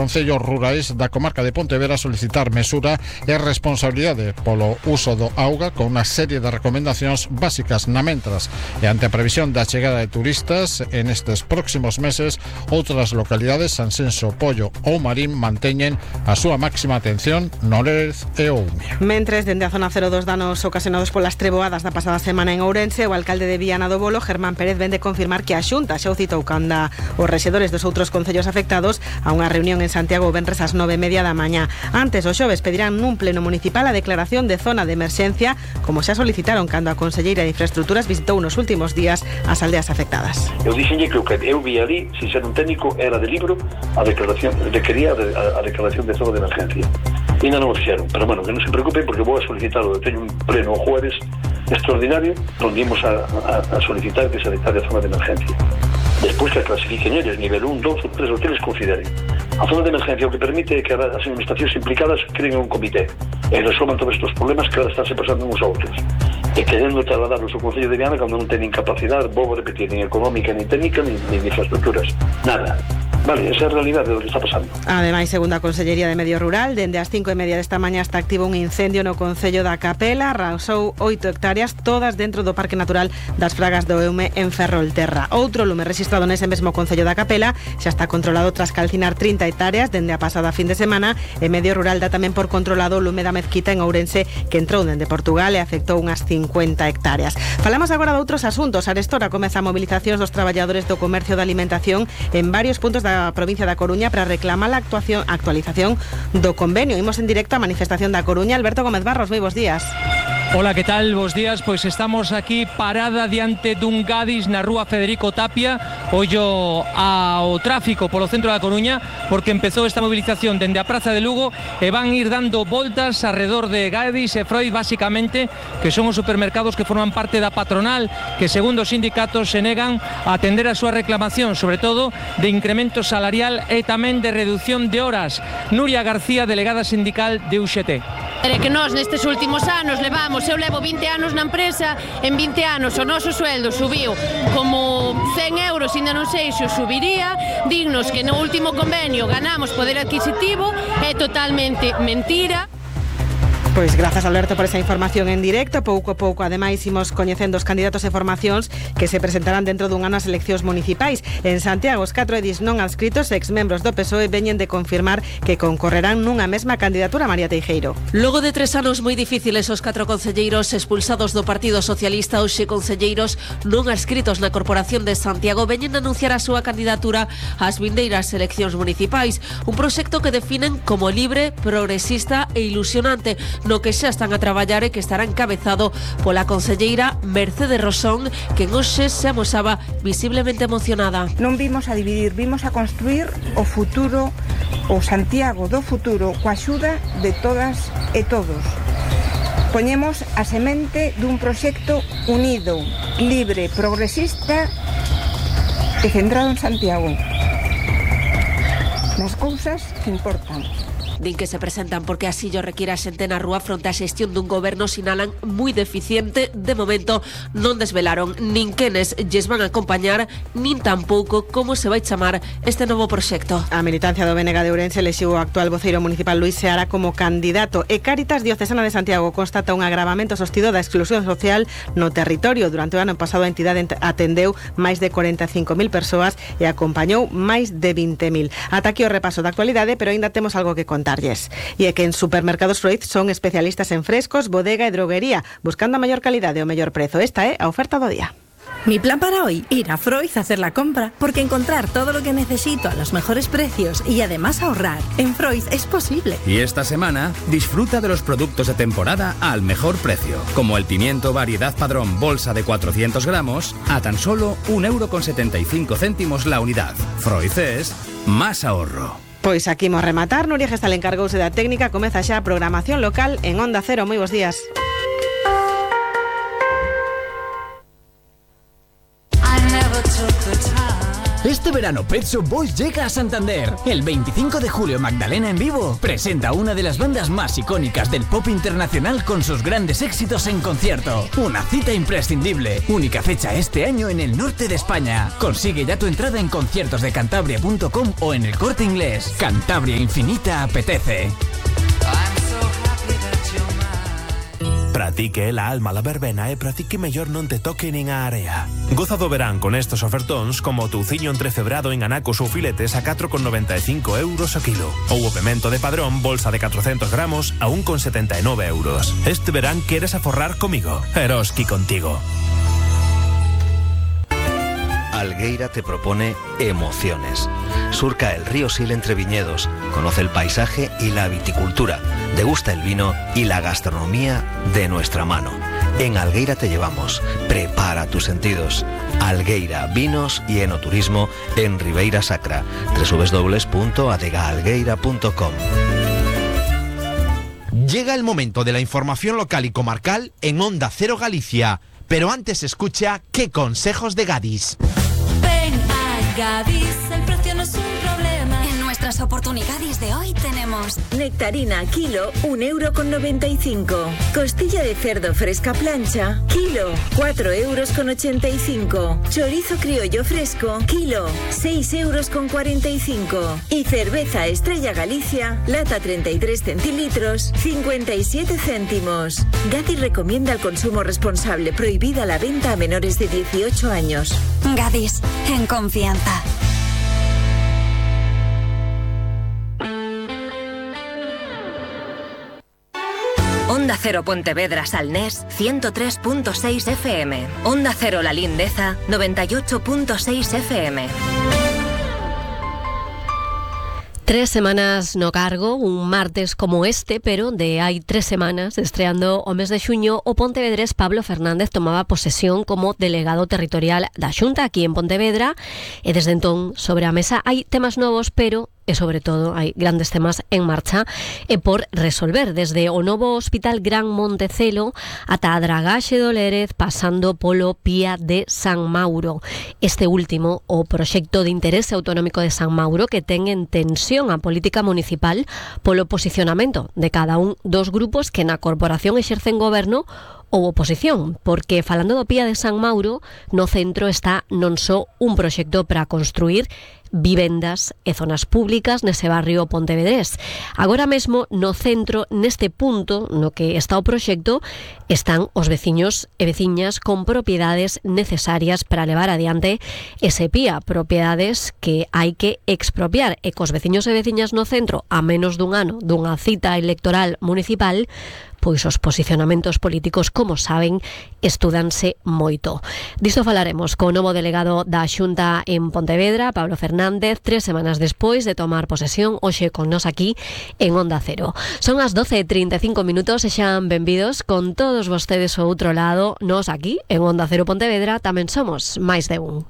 Concellos rurais da comarca de Pontevedra solicitar mesura e responsabilidade polo uso do auga con unha serie de recomendacións básicas na mentras e ante a previsión da chegada de turistas en estes próximos meses, outras localidades, Sanxenxo, Pollo ou Marín manteñen a súa máxima atención no Lérez e o Umia. Mentres, dende a zona 0 dos danos ocasionados polas treboadas da pasada semana en Ourense, o alcalde de Viana do Bolo, Germán Pérez, vende confirmar que a Xunta xa o citou canda os rexedores dos outros concellos afectados a unha reunión en Santiago o venres ás 9:30 da mañá. Antes, os xoves pedirán nun pleno municipal a declaración de zona de emerxencia, como xa solicitaron cando a conselleira de Infraestructuras visitou nos últimos días as aldeas afectadas. Eu dixenlle que o que eu vi ali, sin ser un técnico, era de libro a declaración, requería a declaración de zona de emergencia. E non o fixeron, pero bueno, que non se preocupen porque vou a solicitarlo. Teño un pleno o jueves extraordinario onde imos a solicitar que se declare a zona de emergencia. Despois que clasifiquen eles, nivel 1, 2 ou 3 o que eles consideren. A zona de emergencia o que permite é que as administracións implicadas creen un comité e resolvan todos estes problemas que ahora estánse pasando uns a outros. E querendo trasladarlos ao Concello de Viana cando non teñen capacidade, vou repetir, nin económica, nin técnica, nin infraestructuras. Nada. Vale, esa é a realidade do que está pasando. Ademais, segundo a Consellería de Medio Rural, dende as 5:30 desta mañá está activo un incendio no Concello da Capela, arrasou 8 hectáreas, todas dentro do Parque Natural das Fragas do Eume en Ferrolterra. Outro lume registrado nese mesmo Concello da Capela xa está controlado tras calcinar 30 hectáreas dende a pasada fin de semana, e Medio Rural dá tamén por controlado o lume da Mezquita en Ourense, que entrou dende Portugal e afectou unhas 50 hectáreas. Falamos agora de outros asuntos. Arestora comeza a mobilizacións dos traballadores do comercio da alimentación en varios puntos da provincia da Coruña para reclamar a actualización do convenio. Imos en directo á manifestación da Coruña. Alberto Gómez Barros, moi bons días. Hola, ¿qué tal? Bos días. Pois estamos aquí parada diante dun Gadis na rúa Federico Tapia, ollo ao tráfico polo centro da Coruña, porque empezou esta movilización dende a Praza de Lugo e van ir dando voltas alrededor de Gadis e Freud, basicamente, que son os supermercados que forman parte da patronal, que segundo os sindicatos se negan a atender a súa reclamación, sobre todo de incremento salarial e tamén de reducción de horas. Nuria García, delegada sindical de UGT. É que nós nestes últimos anos levamos, eu levo 20 anos na empresa, en 20 anos o noso sueldo subiu como 100 euros, ainda non sei se o subiría, dignos que no último convenio ganamos poder adquisitivo, é totalmente mentira. Pois grazas, Alberto, por esa información en directo. Pouco a pouco, ademais, imos coñecendo os candidatos e formacións que se presentarán dentro dun ano ás eleccións municipais. En Santiago, os 4 edis non adscritos, exmembros do PSOE, veñen de confirmar que concorrerán nunha mesma candidatura. María Teijeiro. Logo de 3 anos moi difíciles, os 4 concelleiros expulsados do Partido Socialista, hoxe concelleiros non adscritos na Corporación de Santiago, veñen de anunciar a súa candidatura ás vindeiras eleccións municipais. Un proxecto que definen como libre, progresista e ilusionante, no que xa están a traballar e que estará encabezado pola concelleira Mercedes Rosón, que hoxe se amosaba visiblemente emocionada. Non vimos a dividir, vimos a construir o futuro, o Santiago do futuro, coa axuda de todas e todos. Poñemos a semente dun proxecto unido, libre, progresista e centrado en Santiago, nas cousas que importan. Din que se presentan porque así lo requiere a xente na rúa fronte á xestión dun goberno, sinalan, moi deficiente. De momento non desvelaron nin quenes lles van a acompañar, nin tampouco como se vai chamar este novo proxecto. A militancia do BNG de Ourense elixiu o actual voceiro municipal Luis Seara como candidato, e Cáritas Diocesana de Santiago constata un agravamento sostido da exclusión social no territorio. Durante o ano pasado a entidade atendeu máis de 45.000 persoas e acompañou máis de 20.000. Ata aquí o repaso da actualidade, pero aínda temos algo que contar. E é que en Supermercados Freud son especialistas en frescos, bodega e droguería, buscando a maior calidade e o mellor prezo. Esta é a oferta do día. Mi plan para hoy, ir a Freud a hacer la compra, porque encontrar todo lo que necesito a los mejores precios y además ahorrar en Freud es posible. Y esta semana disfruta de los productos de temporada al mejor precio, como el pimiento variedad Padrón bolsa de 400 gramos a tan solo 1,75 € la unidad. Freud es más ahorro. Pois aquí imos rematar. Nuria Gestal encargouse da técnica. Comeza xa a programación local en Onda Cero. Moi bons días. Este verano Pet Shop Boys llega a Santander. El 25 de julio Magdalena en vivo presenta una de las bandas más icónicas del pop internacional con sus grandes éxitos en concierto. Una cita imprescindible. Única fecha este año en el norte de España. Consigue ya tu entrada en conciertosdecantabria.com o en El Corte Inglés. Cantabria Infinita apetece. Pratique la alma la verbena e pratique mellor non te toque nin a area. Goza do verán con estos ofertóns como o touciño entrecebrado en anacos ou filetes a 4,95 euros o kilo. Ou o pemento de Padrón, bolsa de 400 gramos a 1,79 euros. Este verán queres aforrar comigo. Eroski contigo. Algueira te propone emociones. Surca el río Sil entre viñedos, conoce el paisaje y la viticultura, degusta el vino y la gastronomía de nuestra mano. En Algueira te llevamos. Prepara tus sentidos. Algueira, vinos y enoturismo en Ribeira Sacra. www.adegaalgueira.com. Llega el momento de la información local y comarcal en Onda Cero Galicia. Pero antes escucha ¿Qué consejos de Gadis? Ven a Gadis, el precio no es un problema. En nuestras oportunidades de hoy tenemos nectarina kilo 1,95 €. Costilla de cerdo fresca plancha kilo 4,85 €. Chorizo criollo fresco kilo 6,45 €. Y cerveza Estrella Galicia lata 33 centilitros 57 céntimos. Gadis recomienda el consumo responsable. Prohibida la venta a menores de 18 años. Gadis, en confianza. Onda Cero Pontevedra Salnés 103.6 FM. Onda Cero La Lindeza 98.6 FM. 3 semanas no cargo, un martes como este, pero de hai 3 semanas, estreando o mes de xuño, o pontevedrés Pablo Fernández tomaba posesión como delegado territorial da Xunta aquí en Pontevedra, e desde entón sobre a mesa hai temas novos, pero e sobre todo hai grandes temas en marcha e por resolver, desde o novo Hospital Gran Montecelo ata a dragaxe do Lérez, pasando polo Pía de San Mauro. Este último, o proxecto de interese autonómico de San Mauro, que ten en tensión a política municipal polo posicionamento de cada un dos grupos que na corporación exercen goberno ou oposición, porque falando do Pía de San Mauro, no centro está non só un proxecto para construir vivendas e zonas públicas nese barrio pontevedrés. Agora mesmo no centro, neste punto no que está o proxecto, están os veciños e veciñas con propiedades necesarias para levar adiante ese Pía, propiedades que hai que expropiar, e cos veciños e veciñas no centro a menos dun ano dunha cita electoral municipal, pois os posicionamentos políticos, como saben, estúdanse moito. Disto falaremos co novo delegado da Xunta en Pontevedra, Pablo Fernández, 3 semanas despois de tomar posesión, hoxe con nos aquí en Onda Cero. Son as 12:35 minutos e xan benvidos con todos vostedes ao outro lado. Nos aquí en Onda Cero Pontevedra tamén somos máis de un.